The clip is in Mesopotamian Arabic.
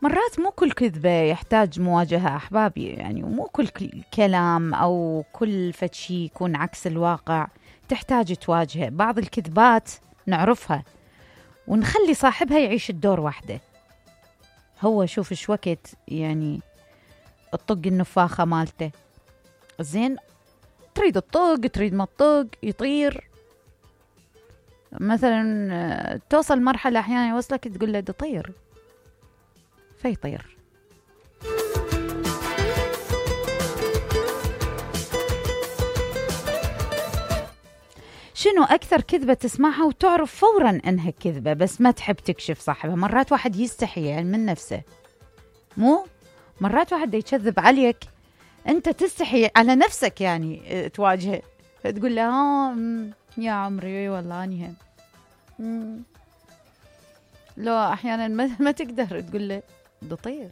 مرات مو كل كذبة يحتاج مواجهة أحبابي، يعني ومو كل كلام أو كل فشي يكون عكس الواقع تحتاج تواجهه. بعض الكذبات نعرفها ونخلي صاحبها يعيش الدور وحده. هو شوف ايش وقت يعني الطق النفاخة مالته زين، تريد الطق تريد ما الطق يطير مثلا، توصل مرحلة أحيانا يوصلك تقول له ده طير فيطير. شنو أكثر كذبة تسمعها وتعرف فوراً أنها كذبة بس ما تحب تكشف صاحبها؟ مرات واحد يستحي يعني من نفسه، مو مرات واحد يكذب عليك أنت تستحي على نفسك يعني تواجهه، تقول له يا عمري والله أني هم لو أحياناً ما تقدر تقول له ده طير.